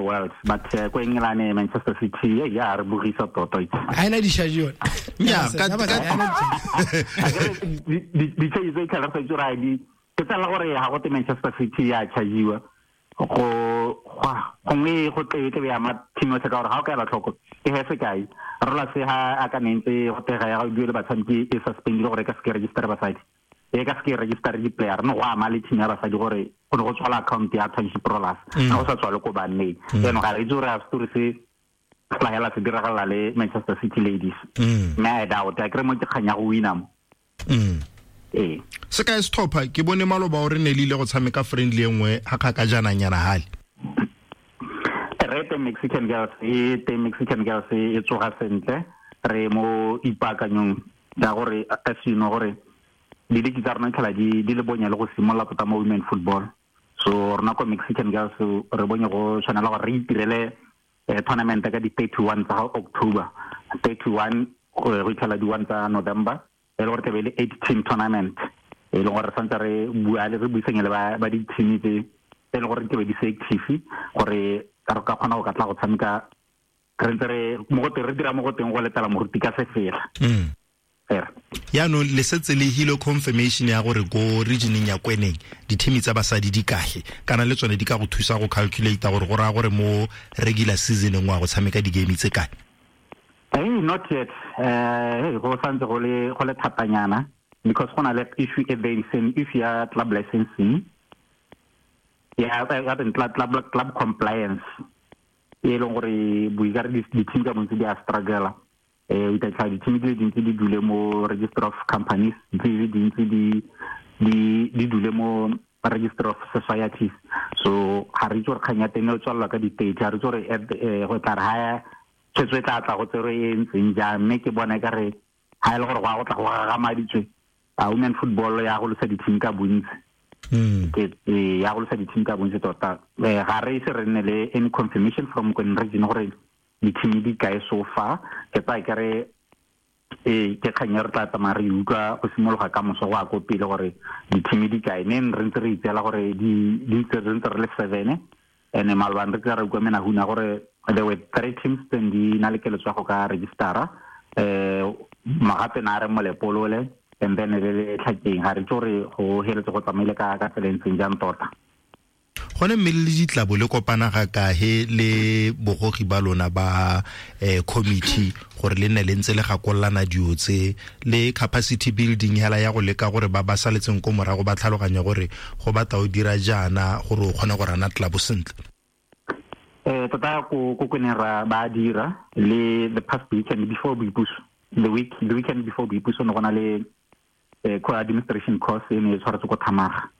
world, but ko England, Manchester City ya re bogisa tota. Ga ena di-charge yone. Nya, di-charge tse tlhela re sa itse di ke tsela gore ga go te Manchester City ya chargiwa go gongwe go tle tle ya ma team yotlhe, ka gore ga o ka ela tlhoko, ke he sekai rola se ha a ka nentse go tega ya go duele batshameki e suspendile gore e ka se ke register basadi, e ka se ke register di-player, no go ama le team ya basadi gore go ne go tswala account ya Township Rollers, ne go sa tswale ko banneng. Jaanong ga re itse gore a story se tla hela se diragala le Manchester City ladies, mme I doubt a kry mo ke kgang ya go wina mo. Ee. Se kae setlhopha ke bone maloba o re ne le ile go tshameka friendly e nngwe ga kgaka jaananyana hale? Re teng Mexican Girls, e teng Mexican Girls, e tsoga sentle. Re mo ipaakanyong ya gore, as you know, gore diliki tsa rona tlhela di le bonya le go simolola tota mo women football. So rona ko Mexican Girls re bonye go tshwanela gore re itirele tournament ka di 31 tsa October, 31 go itlhela di 1 tsa November, e le gore tlabe le 8 team tournament, e leng gore santse re bua le re buisanye le ba di-team tse e leng gore ke be di se active, gore re ka kgona go ka tla go tshameka. Re ntse re mo go teng, re dira mo go teng go letela moruti ka sefela. Fela. Yaanong le setse le hile confirmation ya gore ko regioneng ya Kweneng dithimi tsa basadi di kahe, kana le tsone di ka go thusa go calculate gore go raya gore mo regular seasoneng wa go tshameka di-game tse kae? Hey, not yet. Hey, go santse go le thatanyana because go na le issue e very same issue ya club licensing ya teng club compliance, e leng gore boikare di-team ka bontsi di a struggle. O itlhatlhela di-team di le dintsi di dule mo register of companies, di le dintsi di dule mo register of societies. So ga re itse gore kgang ya teng e tswalela ka di-stage, ga re itse gore go tla re ha tshwetso e tla tla go tsere e ntseng jang. Mme ke bona ka re ha e le gore go a go tla go gagamaditswe a women football ya go losa di-team ka bontsi, ke ya go losa di-team ka bontsi tota. Ga re ise re nne le any confirmation from Kweneng region gore di-team di kae so far. Ke tsaya ke re ke kgang e re tla tsamaya re utlwa go simologa ka moso go ya ko pele gore di-team di kae. Ne re ntse re itseela gore di ntse re ntse re le seven, and malobane re tla re utlwa menahuna gore there were three teams tse di na le keletso ya go ka registera, magape na re Molepolole and then le le Tlhakeng. Ga re itse gore go heletse go tsamaile ka tsela e ntseng jang tota. Gone mme le ditlabo le kopana ga kahe le bogogi ba lona ba committee gore le nne le ntse le gakololana dio tse le capacity building hela ya go leka gore ba ba saletseng ko morago ba tlhaloganye gore go batla o dira jaana gore o kgone go rana tlabo sentle? Tota ko Kweneng ra ba dira le the past weekend before boipuso, the weekend before boipuso, ne go na le co administration course e ne e tshwaretse ko Thamaga.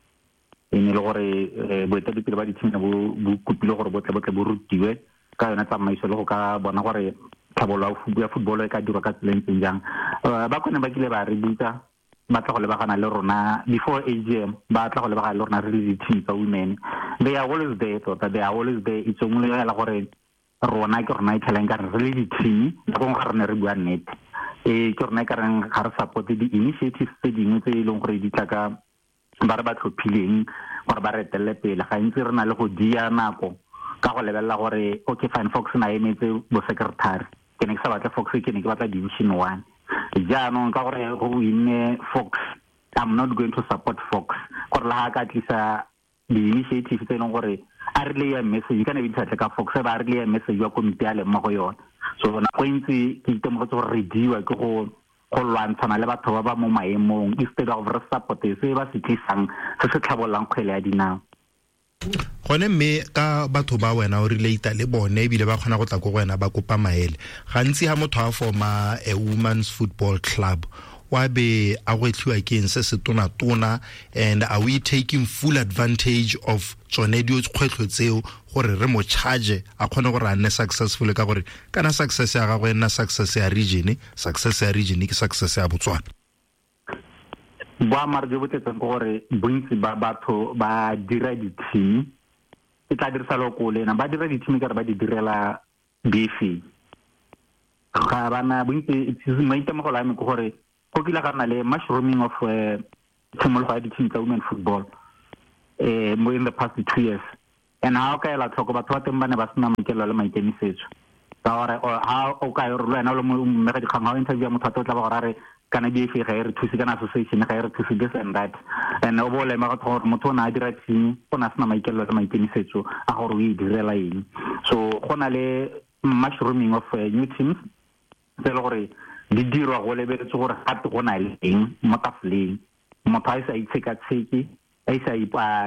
E ne le gore boeteledipele ba di-team bo kopile gore botle bo rutiwe ka yone tsamaiso le go ka bona gore tlhabololo ya football e ka dirwa ka tsela e ntseng jang. Ba kgone ba kile ba re bitsa, ba tla go lebagana le rona before AGM, ba tla go lebagana le rona re le di-team tsa women. They are always there tota, they are always there. It's only fela gore rona ke rona e tlheleng ka re le di-team nako nngwe ga re ne re bua nnete, ke rona e ka reng ga re support di-initiatives tse dingwe tse e leng gore di tla ka ba re ba tlhophileng gore ba re etelele pele. Gantsi re na le go dia nako ka go lebelela gore okay, fine, Fox na emetse bo secretary, ke ne ke sa batle Fox, ke ne ke batla division one. Jaanong ka gore go winne Fox, I'm not going to support Fox, gore le ga ka tlisa di-initiative tse e leng gore a relay ya message ka ne be di sa tle ka Fox, ba a relay ya message ya komiti a leng mo go yone. So nako e ntsi ke itemogetse gore re diwa ke go lwantshana le batho ba ba mo maemong instead of re support se ba se tlisang se se tlhabololang kgwele ya dinao. Gone mme ka batho ba wena o relata le bone, ebile ba kgona go tla ko go wena ba kopa maele. Gantsi ha motho a forma a women's football club, wa be a gwetlhiwa ke eng se se tona-tona, and are we taking full advantage of tsone dio kgwetlho tseo gore re mo charge a kgone gore a nne successful, ka gore kana success ya gagwe e nna success ya region, success ya region ke success ya Botswana? Boammaaruri jo bo tletseng ke gore bontsi ba batho ba dira di-team, ke tla dirisa loko lena, ba dira di-team ka re ba di direla beefing. Ga bana bontsi. Maitemogelo a me ke gore go kile ga nna le mushrooming of tshimologo ya di-team tsa women football mo in the past 2 years. And ha o ka ela tlhoko, batho ba teng ba ne ba sena maikelo le maikemisetso, ka gore ha o ka re le wena o le mmega dikgang, ha o interview motho o tla ba gore a re kana BFA ga e re thuse, kana association ga e re thuse, this and that. And o bo lemoga gore motho o ne a dira team, o ne a sena maikelo le maikemisetso a gore o e direla eng. So go na le mushrooming of new teams tse e le gore di dirwa go lebeletse gore gape go na le eng mo tafoleng. Motho a ise a itshekatsheke, a ise a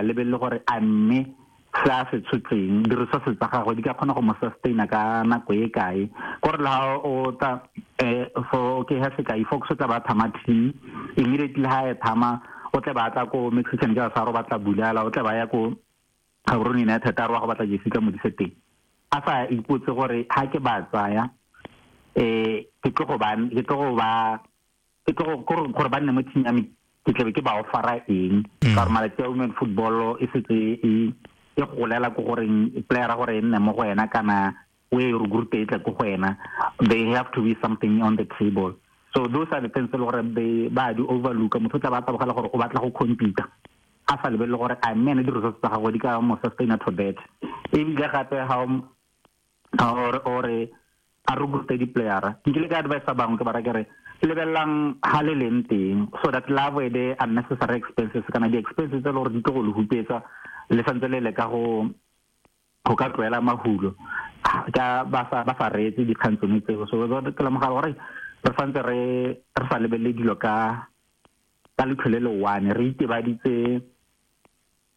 lebelele gore a mme se a se tshotseng, di-resources tsa gagwe di ka kgona go mo sustaina ka nako e kae. Kore le ha o tla for okay, ha sekai, Fox o tla ba thama team immediately, ha e thama o tla ba tla ko Mexican ka sa ro batla Bulala, o tla ba ya ko Gaborone United a re wa go batla Jessica Modise teng, a sa ipotse gore ha ke ba tsaya, ke tlo go ba ke tlo go ba ke tlo go gore ba nne mo team ya me, ke tlabe ke ba offera eng? Ka gore malatsi a women football e setse e golela ko goreng player gore e nne mo go wena kana o e recruit e tle ko go wena, they have to be something on the table. So those are the things tse e le gore they ba di overlook. Motho o tla ba tabogela gore o batla go compete, a sa lebelele gore a mme ene di-resources tsa gagwe di ka mo sustaina to that. Ebile gape ha ore a recruit di-playera, nkile ka advise bangwe ke ba ra ke re lebelelang ha le leng teng, so that la avoid unnecessary expenses kana di-expenses tse e le gore di tlo go le hupetsa le santse le leka go ka tloela mahulo ka ba sa reetse dikgang tsone tseo. So ke lemoga gore re santse re sa lebelele dilo ka leitlho le le one, re itebaditse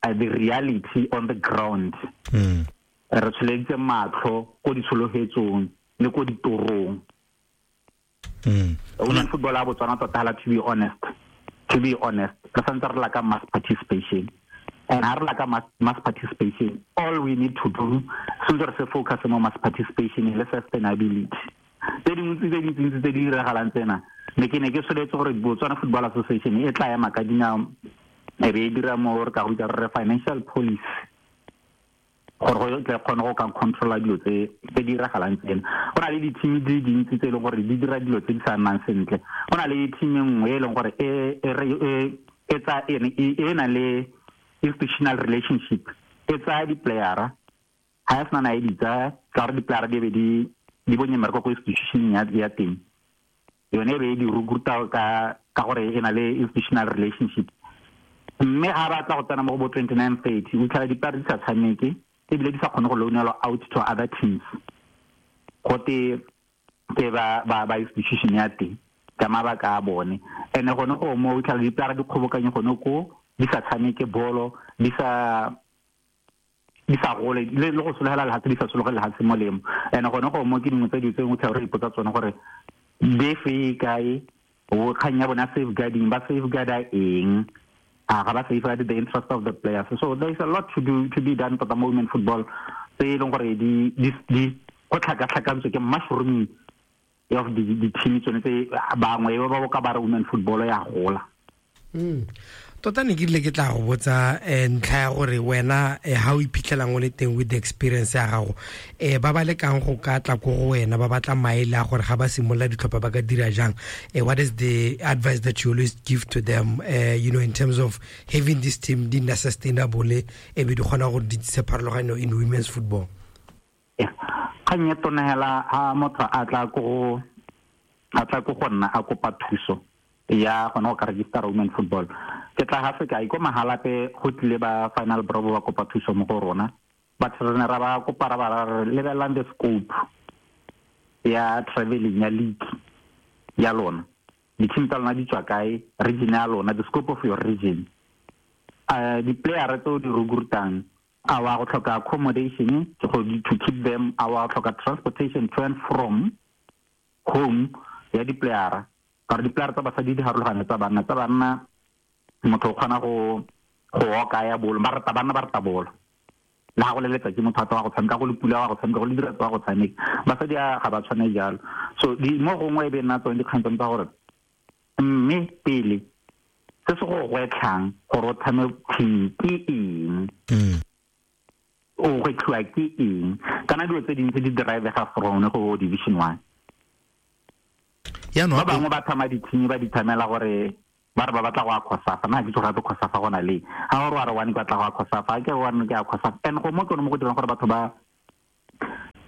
the reality on the ground. Re tsholeditse matlho ko ditsholofetsong le ko ditorong. Women football a Botswana tota hala, to be honest, re santse re laka mass participation. And ha re laka mass participation, all we need to do sentse re se focus mo mass participation le sustainability. Tse dingwe tse dintsi tse di diragalang tsena, ne ke ne ke soletse gore Botswana Football Association e tla ema ka dinao e be e dira mo re ka go bitsa re financial policy, gore go tle kgone go ka controla dilo tse di diragalang tsena. Go na le di-team di dintsi tse e leng gore di dira dilo tse di sa nnang sentle. Go na le team e nngwe e leng gore e na le institutional relationship, e tsaya di-playera, ha e sena na e di tsaya ka gore di-playera di be di bonye mmereko ko institution ya teng, yone e be e di recruita ka gore e na le institutional relationship. Mme ha ba tla go tsena mo go bo 29-30, o tlhela di-playera di sa tshameke ebile di sa kgone go loanelwa out to other teams, gote ke ba institution ya teng ka mabaka a bone. And gone go mo o tlhela di-playera di kgobokanye gone ko di sa tshameke bolo, di sa gole le go solegela lehatshe, di sa sologele lehatshe molemo. And gone go mo ke dingwe tse dilo tse dingwe re ipotsa tsone gore BFA kae, o kgang ya bona safeguarding, ba safeguarda eng? A ga ba safeguard the interest of the players? So there is a lot to do to be done tota mo women football tse e leng gore di go tlhakatlhakantswe ke mushrooming of di-team tsone tse bangwe ba ba ka ba re women football ya gola. Tota ne ke rile ke tla go botsa ntlha ya gore wena ha o iphitlhelang o le teng with the experience ya gago, ba ba lekang go ka tla ko go wena ba batla maele a gore ga ba simolola ditlhopha ba ka dira jang, what is the advice that you always give to them, you know, in terms of having this team di nna sustainable e be di kgona gore di tsise pharologano in women's football? Kgang e tona hela ha motho a tla ko go nna a kopa thuso ya gone go ka register women football, ke tla ga sekai ko Mahalape go tlile ba Final Bravo ba kopa thuso mo go rona, but re ne ra ba kopa ra ba re lebelelang the scope ya traveling ya league ya lona, di-team tsa lona di tswa kae, region ya lona, the scope of your region, di-player tse o di recruitang, a wa go tlhoka accommodation to keep them, a wa tlhoka transportation to and from home ya di-playera. Ka gore di-playera tsa basadi di harologane tsa banna motho o kgona go oka ya bolo, ba rata banna ba rata bolo, le ha go le letsatsi motho a tla go tshameka, go le pula wa go tshameka, go le diratso wa go tshameka, basadi ga ba tshwane jalo. So mo gongwe e be nna tsone dikgang tsa gore mme pele se se go gwetlhang gore o thame team ke eng, o gwetlhiwa ke eng, kana dilo tse dintsi di drivega from go division 1. Ba bangwe ba thama di-team ba di thamela gore Ba re ba batla go a COSAFA. Nna ga ke itse gore gape COSAFA go na le ga gore wa re one ke batla go a COSAFA, ke one ke a COSAFA. And go mo ke mo go dirang gore batho ba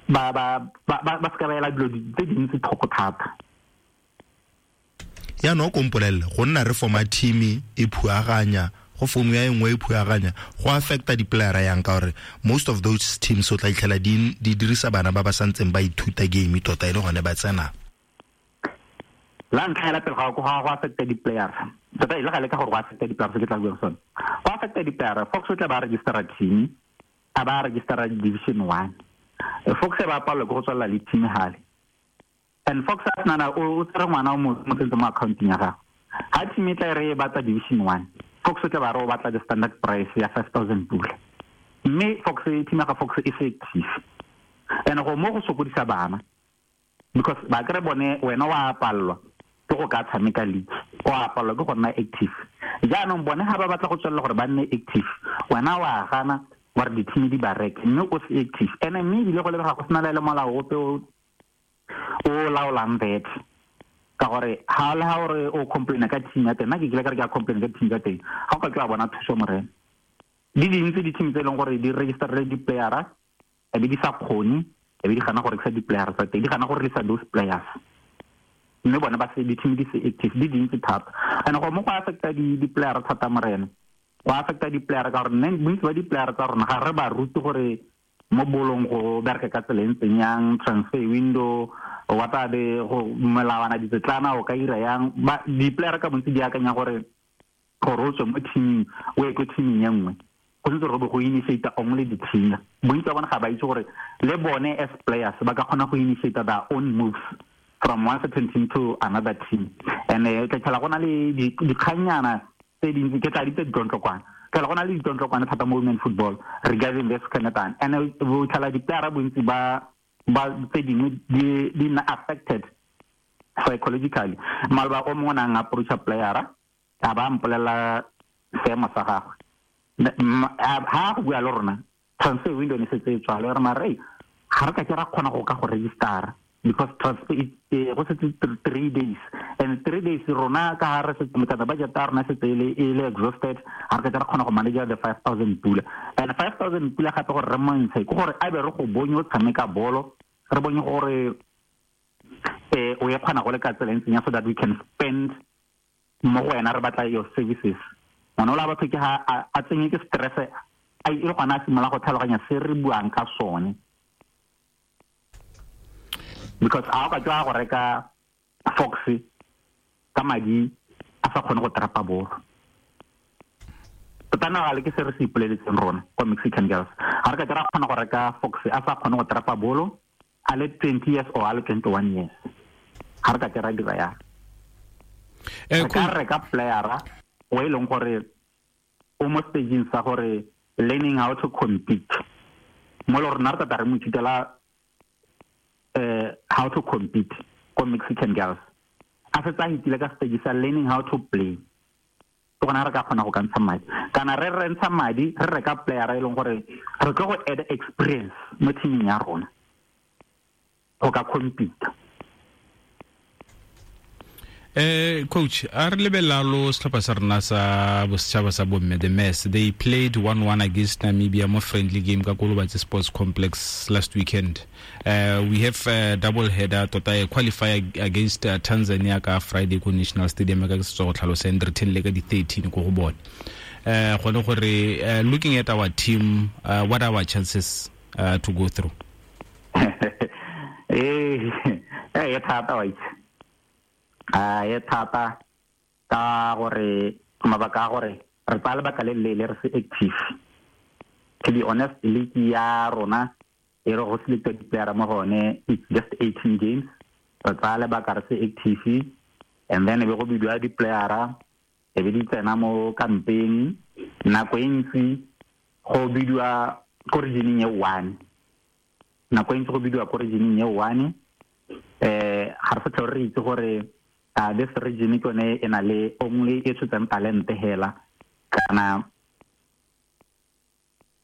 ba ba ba ba se ka ba ela dilo tse dintsi thoko thata. Yaanong o kompolelele go nna re forma team e phuaganya, go founu ya e nngwe e phuaganya, go affecta di-playera yang? Ka gore most of those teams o tla itlhela di dirisa bana ba ba santseng ba ithuta game tota e le gone ba tsenang. La ntlha hela pele ga go go affecta di-players tota, e le gale ka gore go affecta di-players, ke tla buang sone, go affecta di-player. Fox o tla ba registera team, a ba registera division one, Fox e ba palelwa ke go tswelela le team gale. And Fox a senana o tsere ngwana o mo tsentse mo accounting ya gagwe. Ha team e tla e re e batla division one, Fox o tla ba re o batla the standard price ya 5000 pula, mme Fox, team ya ga Fox e se active. And go mo go sokodisa bana, because ba kry bone wena wa palelwa ke go ka tshameka league, o a palelwa ke go nna active. Jaanong bone ga ba batla go tswelela gore ba nne active, wena wa gana wa re di-team di ba reke, mme o se active. And mme ebile go lebega go sena le molao ope o laolang that, ka gore ha le ha ore o complaina ka team ya teng, nna ke kile ka re ke a complain ka team ya teng, ga o ka ke wa bona thuso morena. Di dintsi di-team tse e leng gore di registerele di-playera, e be di sa kgone, e be di gana go rekisa di-playera tsa teng, di gana go releasa those players, mme bone ba se di-team di se active, di dintsi thata. And go mo go affecta di-playera thata morena, go affecta di-playera, ka gore nne bontsi ba di-playera tsa rona ga re ba rute gore mo bolong go bereka ka tsela e ntseng yang, transfer window, what are the go melawana, ditsetlana, o ka ira yang. Di-playera ka bontsi di akanya gore o tswe mo teaming o ye ko teaming e nngwe go sentse gore go initiate only the team. Bontsi ba bone ga ba itse gore le bone as players ba ka kgona go initiate their own moves from one certain team to another team. And ke tlhela go na le dikgannyana tse dintsi, ke tla ditse ditlontlokwana, tlhela go na le ditlontlokwana thata mo women football regarding this kind of thing. And bo tlhela di-playera bontsi ba tse dingwe di nna affected psychologically. Maloba o mongwe nang approacha playera, a ba mpolelela seemo sa gagwe, ha go bua le rona, transfer window ne setse e tswalo. Re mare ga re ka ke ra kgona go ka go registera because transfer go setse 3 days, and 3 days rona ka ga re setse motsana budget ya rona setse e le exhausted, ga re ka ke ra kgona go manage the 5000 pula. And 5000 pula gape gore re montshe ke gore a be re go bonye o tshameka bolo, re bonye gore o e kgona go le ka tsela e ntseng ya, so that we can spend mo go wena, re batla your services. Ngwana o la batho ke ha a tsenye ke stress, a e le gona a simolola go tlhaloganya se re buang ka sone, because a o ka tswa go reka Fox ka madi a sa kgone go trapa bolo. Tota na gale ke se re se ipoleletseng rona kwa Mexican Girls, ga re ka ke ra kgona go reka Fox a sa kgone go trapa bolo a le 20 years or a le 21 years, ga re ka ke ra dira yang. Re ka reka playera o e leng gore o mo stageng sa gore learning how to compete, mo le rona re tata re mo ithutela how to compete ko Mexican Girls, a setse a hitile ka stage sa learning how to play, ke gona re ka kgona go ka ntsha madi, kana re re ntsha madi re reka player e leng gore re tlo go add experience mo teaming ya rona go ka compete. Coach, a re lebelela lo setlhopha sa rona sa bosetšhaba sa bomme, the Mess. They played 1-1 against Namibia mo friendly game ka Kolobatse Sports Complex last weekend. We have a double header tota, a qualifier against Tanzania ka Friday ko National Stadium, ka ke setswa go tlhalosa, and return le ka di 13 ko go bone. Gone gore looking at our team, what are our chances to go through? E thata wa itse, a e thata ka gore mabaka a gore re tsaya lebaka le leele re se active. To be honest, league ya rona e re go selecta di-player mo gone, it's just 18 games. Re tsaya lebaka re se active, and then e be go bidiwa di-playera, e be di tsena mo campeng. Nako e ntsi go bidiwa ko regioneng e one, nako e ntsi go bidiwa ko regioneng e one. Ga re sa tlhole re itse gore this region ke yone e na le only e tshotseng talente hela, kana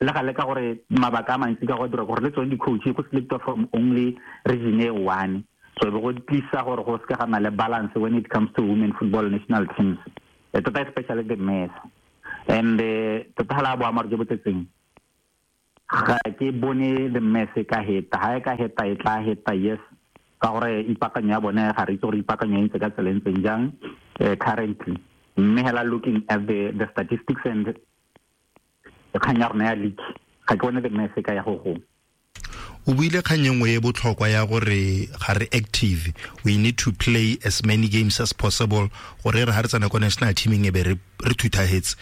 le ga le ka gore mabaka a mantsi ka go dira gore le tsone di-coach go selectwa from only region e one, so e be go tlisa gore go seke ga nna le balance when it comes to women football national teams. Tota especially the mess. And tota hala boammaaruri jo bo tletseng ga ke bone the mess e ka heta. Ha e ka heta e tla heta, yes, ka gore ipakanyo ya bone ga re itse gore ipakanyo e ntse ka tsela e ntseng jang currently. Mme hela looking at the statistics and kgang ya rona ya league, ga ke bone the mess e ka ya go gongwe. O buile kgang e nngwe e botlhokwa ya gore ga re active, we need to play as many games as possible gore re ha re tsena ko national teaming e be re thuthahetse.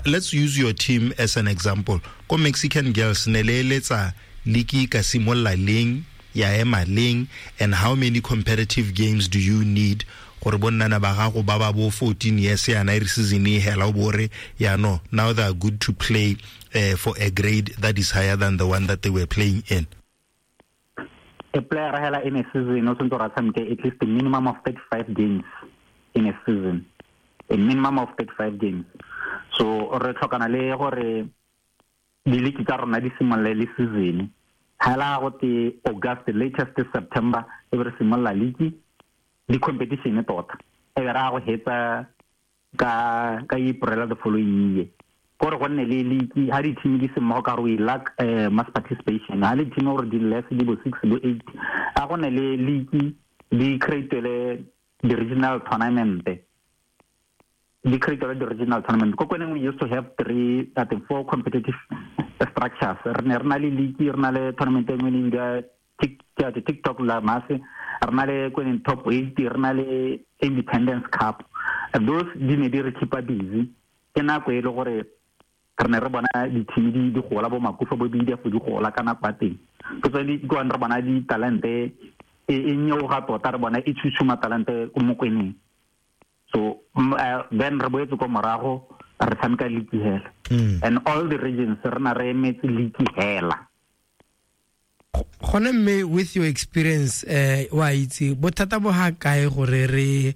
Let's use your team as an example. Ko Mexican Girls ne le eletsa league ka simolla leng, ya ema leng, and how many competitive games do you need gore bonnana ba gago ba ba bo 14 years yana e re season e hela o bo re ya no, now they are good to play for a grade that is higher than the one that they were playing in? A player hela in a season o tshwanetse gore a tshameke at least a minimum of 35 games in a season. A minimum of 35 games. So re tlhokana le gore diliki tsa rona di simolole le season. Hela go te August, latest September, e be re simolola league, di competition tota. E be ra go hetsa ka April the following year. Gore go nne le league, ha di team di semmogo ka gore we lack mass participation. Ha le team gore di less di bo 6 bo 8, a go nne le league di create-le the regional tournament. Di create-le the regional tournament. Ko kweneng we used to have 3 I think 4 competitive structures. Re ne re na le league, re na le tournament e nngwe e bidiwa TikTok la Mase, re na le kweneng top 8, re na le Independence Cup. Those di ne di re keep-a busy. Ke nako e le gore re ne re bona di-team di gola, bo Makufa bo BDF di gola ka nako ya teng. Ke tsone di ke re bona di-talente e nyeoga tota, re bona e tshutshuma talente mo kweneng. So then re boetse ko morago re tshameka league hela. And all the regions re na re emetse league hela. Gone mme with your experience wa itse bothata bo ha kae gore re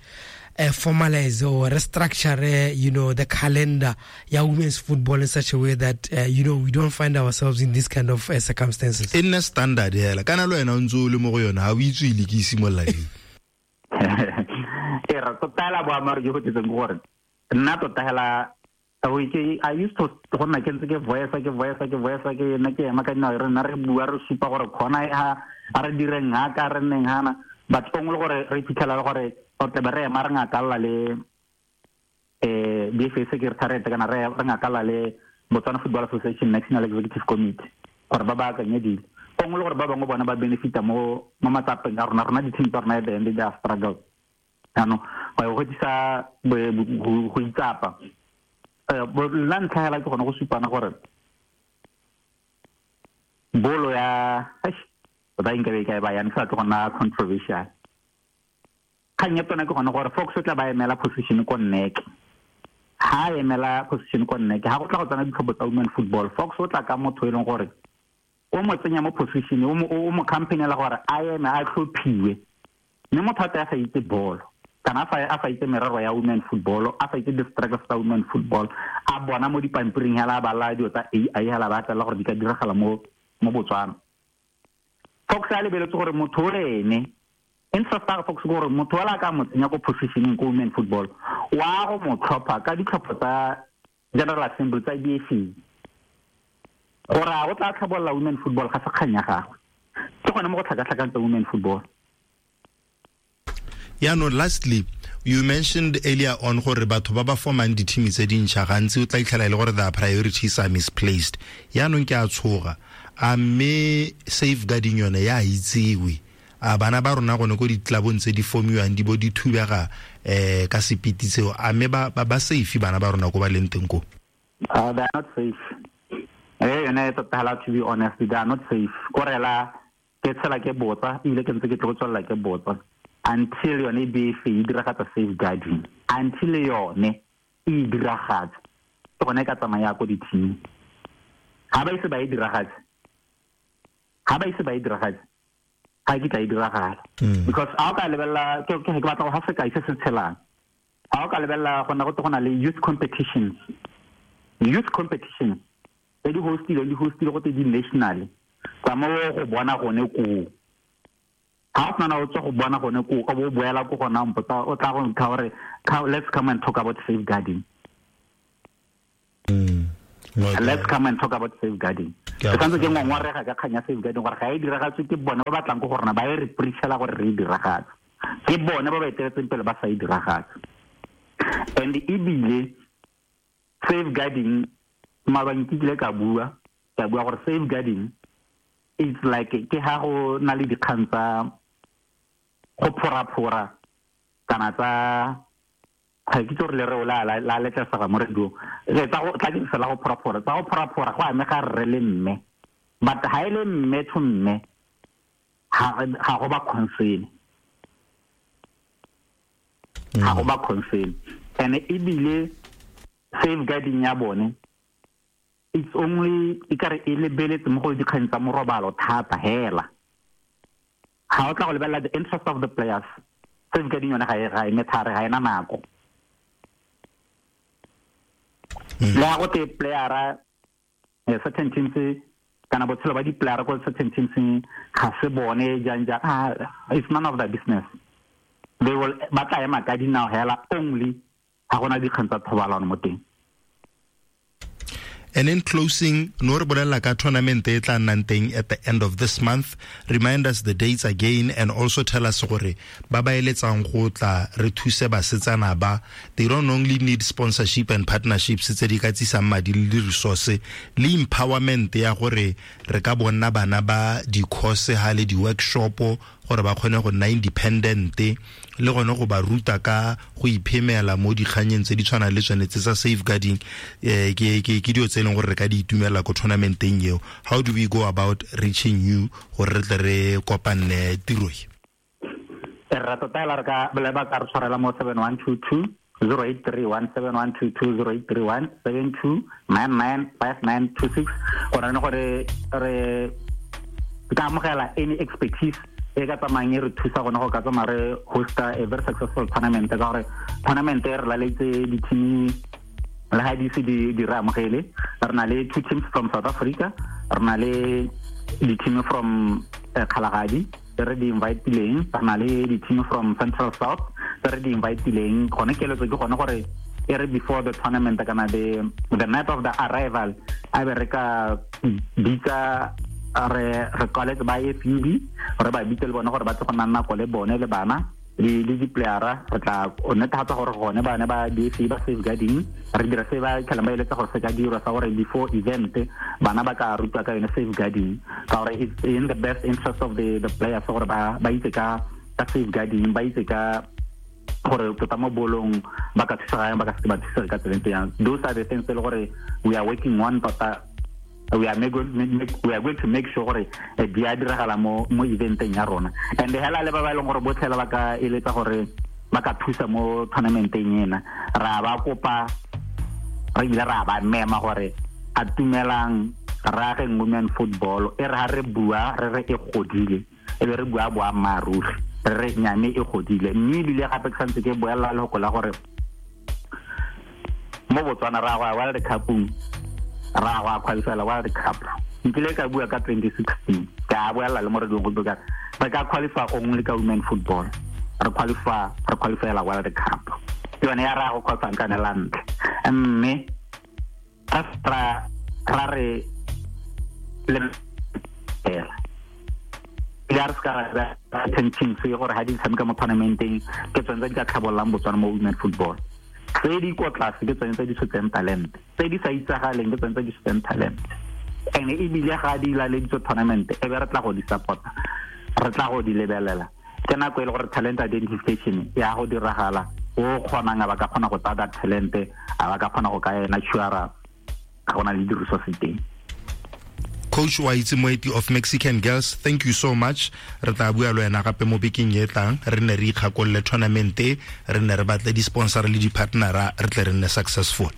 formalize or restructure, you know, the calendar ya women's football in such a way that you know, we don't find ourselves in this kind of circumstances? E nne standard hela kana le wena o ntse o le mo go yona ha o itse ile ke simolola leng. E re tota hela boammaaruri jo bo tletseng ke gore nna tota hela I used to go nna ke ntse ke voice ke nna ke ema ka dinao re nna re bua re supa gore khona ha a re direng ha ka re nneng hana, but gongwe le gore re iphitlhela le gore o tle be re ema re ngakalla le BFA secretariat kana re ngakalla le Botswana Football Association National Executive Committee gore ba baakanye dilo. Gongwe le gore ba bangwe bona ba benefita mo matsapeng a rona, rona di-team tsa rona at the end they are struggle. Jaanong go tlisa go itsapa. La ntlha hela ke gone go supana gore bolo ya tota nka be ka e bayang sa tlo go nna controversial. Kgang ya tona ke gone gore Fox o tla ba emela position ko NEC. Ha emela position ko NEC, ha go tla go tsena ditlhopho tsa women football, Fox o tla ka motho e leng gore o mo tsenya mo position, o mo campaignela gore a eme a tlhophiwe. Mme motho a tla sa itse bolo, kana a sa itse merero ya women football, a sa itse di-struggles tsa women football, a bona mo dipampiring hela a bala dilo tsa AI hela ba tlela gore di ka diragala mo Botswana. Fox a lebeletse gore motho o le ene, interest ya Fox ke gore motho o la ka mo tsenya ko positioning ko women football, wa go mo tlhopha ka ditlhopho tsa General Assembly tsa BFA. Gore a go tla tlhabolola women football ga se kgang ya gagwe. Ke gone mo go tlhakatlhakang tsa women football. Yaanong lastly, you mentioned earlier on gore batho ba ba formang di-team tse dintšha gantsi o tla itlhela e le gore their priorities are misplaced. Yaanong ke a tshoga, a mme safeguarding yone ya itsewe? A bana ba rona gone ko ditlabong tse di formiwang di bo di thubega ka sepiti tseo, a mme ba safe bana ba rona ko ba leng teng ko? They are not safe. Yone tota hela to be honest, they are not safe. Kore hela ke tshela ke botsa, ebile ke ntse ke tlo tswelela ke botsa until yone BFA e diragatsa safeguarding, until yone e diragatsa, ke gone ka tsamaya ko di-team. Ha ba ise ba e diragatse, ha ke tla e diragala. Because ha o ka lebella, ke batla go ha sekai se se tshelang. Ha o ka lebella gona go na le youth competitions tse di hostile go te di national, tsa mo go bona gone koo. Ga o sena o tswa go bona gone ko o bo boela ko gona mpotsa o tla go ntlha gore let's come and talk about safeguarding. Let's come and talk about safeguarding. Ke santse ke ngongorega ka kgang ya safeguarding gore ga e diragatswe ke bone ba batlang ko go rona ba e re preachela gore re e diragatse. Ke bone ba ba eteletseng pele ba sa e diragatse. And ebile safeguarding maabane ke kile ka bua gore safeguarding it's like ke ha go na le dikgang tsa go phora-phora kana tsa ga ke itse gore lereo la letlesega mo radio tsa go tla ke fela go phora-phora tsa go phora-phora go amega rre le mme, but ha e le mme to mme ga go ba concern, ga go ba concern. And ebile safeguarding ya bone it's only e kare e lebeletse mo go dikgang tsa morobalo thata hela. Ga o tla go lebelela the interest of the players, safeguarding yone ga e methare, ga ena nako. Le ga go te playera certain teams kana botshelo ba di-playera ko certain teams ga se bone jang jang, it's none of their business. They will ba tla ema ka dinao hela only ga gona dikgang tsa thobalano mo teng. And in closing, no re bolela ka tournament e tla nnang teng at the end of this month. Remind us the dates again and also tell us gore ba ba eletsang go tla re thuse basetsana ba. They don't only need sponsorship and partnerships tse di ka tsisang madi le di-resource le empowerment ya gore re ka bona bana ba di-course ha le di-workshop gore ba kgone go nna independent le gone go ba ruta ka go iphemela mo dikganyeng tse di tshwanang le tsone tse tsa safeguarding. Ke dilo tse e leng gore re ka di itumela ko tournamenteng eo. How do we go about reaching you gore re tle re kopanne tiro e? Re tota re ka ba ka re tshwarela mo 7122 0831 7122 0831 7299 5926 gore ne gore re ka amogela any expertise e ka tsamayang e re thusa gone go ka tsamaya re hosta a very successful tournament, ka gore tournament e re laletse di-team le ga di se di re amogele. Re na le 2 teams from South Africa, re na le di-team from Kgalagadi tse re di invitileng, re na le di-team from Central South tse re di invitileng. Gone keletso ke gone gore e re before the tournament kana the night of the arrival a be re ka bitsa re kwaletse ba FUB gore ba bitse le bone gore ba tle go nna nako le bone le bana le di-playera. Re tla netefatsa gore gone bane ba DFA ba safeguarding re dira se ba tlhelang ba eletsa gore se ka dirwa sa gore before event bana ba ka rutwa ka yone safeguarding, ka gore it's in the best interest of the players gore ba itse ka safeguarding, ba itse ka gore tota mo bolong ba ka thusa ba ka se ba thusa ka tsela e yang. Those are the things tse le gore we are working on tota. We are going to make sure gore di a diragala mo eventeng ya rona. And hela le ba ba leng gore botlhela ba ka eletsa gore ba ka thusa mo tournamenteng ena, ra ba kopa re ile ra ba mema gore a tumelang ra ageng women football e re ha re bua re re e godile, e be re bua boammaaruri re re nyame e godile. Mme ebile gape ke santse ke boela lehoko la gore mo Botswana ra go ya World Cup-ong, ra go qualify World Cup. Nkile ka bua ka 2016 ka boela le mo radiong go ka re ka qualify only ka women football, re qualify World Cup. Ke yone ya ra go qualify ka la ntlha, mme ra re le fela le re ska ra 10 teams gore ha di tshameka mo tournamenteng ke tsone tse di ka tlhabollang Botswana mo women football. Tse di ko tlase ke tsone tse di tshotseng talent, tse di sa itsagaleng ke tsone tse di tshotseng talent. And ebile ga di laleditswe tournament e be re tla go di support-a, re tla go di lebelela. Ke nako e le gore talent identification ya go diragala, o kgonang a ba ka kgona go tsaya that talent, a ba ka kgona go ka ena tshwara ga gona le di-resource teng. Coach Waitse Moeti of Mexican Girls, thank you so much. Re tla bua le wena gape mo bekeng e tlang, re nne re ikgakolole tournament e, re nne re batle di-sponsor le di-partnera, re tle re nne successful.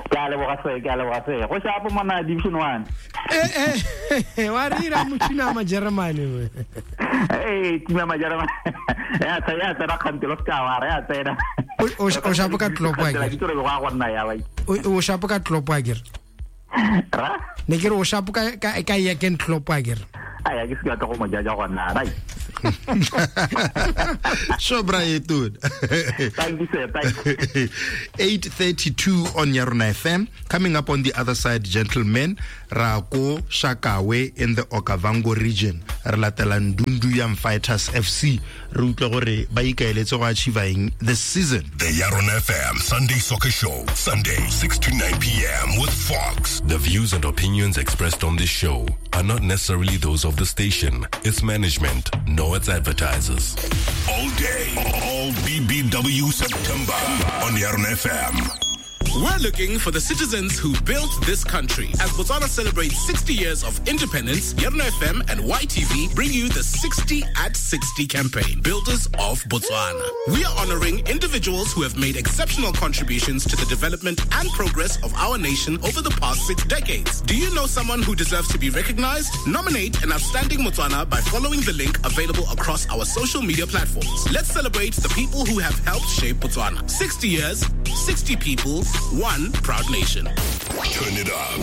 Ke a leboga se, ke a leboga se. Go shapo mona Division 1. Wa re ira motšhini wa Germany we. Tima ma Germany. Ya tsena kgante lo ska wa re ya tsena. O shapo ka tlopo a ke. O shapo ka tlopo a ke. Ra? Ne ke re o shapo ka ya ke ntlopo a ke. Aya ke se ka go mo jaja gona, right. Sure, Brian. Thank you, sir. Thank you. 8:32 on Yarona FM. Coming up on the other side, gentlemen, Rako Shakawe in the Okavango region. Re latela Ndundu Young Fighters FC. Re utlwe gore ba ikaeletse go achieve eng this season. The Yarona FM Sunday Soccer Show, Sunday 6 to 9 p.m. with Fox. The views and opinions expressed on this show are not necessarily those of the station, its management, nor its advertisers. All day, all BBW September on Yarona FM. We're looking for the citizens who built this country. As Botswana celebrates 60 years of independence, Yarona FM and YTV bring you the 60 at 60 campaign, Builders of Botswana. We are honoring individuals who have made exceptional contributions to the development and progress of our nation over the past 6 decades. Do you know someone who deserves to be recognized? Nominate an outstanding Motswana by following the link available across our social media platforms. Let's celebrate the people who have helped shape Botswana. 60 years, 60 people, one proud nation. Turn it up.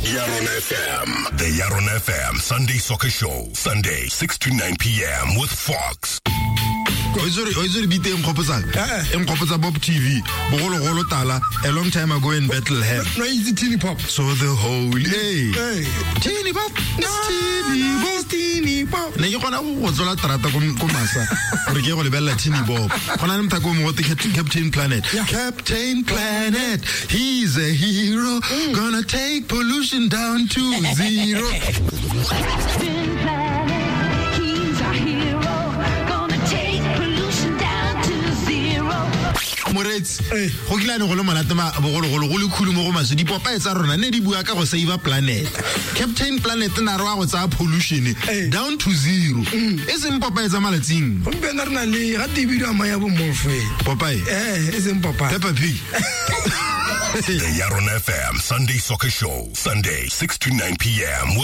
Yarona FM. The Yarona FM Sunday Soccer Show. Sunday, 6 to 9 p.m. with Fox. O itse re bite e nkgopotsang, e nkgopotsa Bob TV bogologolo tala, a long time ago in Bethlehem. No, itse Teeny Pop. So the holy Hey. Teeny Pop, Teeny Pop, Teeny Pop. Ne ke kgona go tsola terata ko masa gore ke go lebelela Teeny Bob. Go na le mothako o mongwe gote Captain Planet. Captain Planet, he's a hero, gonna take pollution down to zero. Captain Planet, he's our hero, gonna take pollution down to zero. Moretsi, go kilane go le monate bogologolo go le khulu mo go maswe. Dipopae tsa rona ne di bua ka go save planet. Captain Planet na re wa go tsaya pollution down to zero. E seng popae tsa malatsing. Gompieno re na le ga te bidiwa maya bo Morfe. Popae? E seng popae. Peppa Pig. The Yarona FM Sunday Soccer Show, Sunday 6 to 9 p.m. with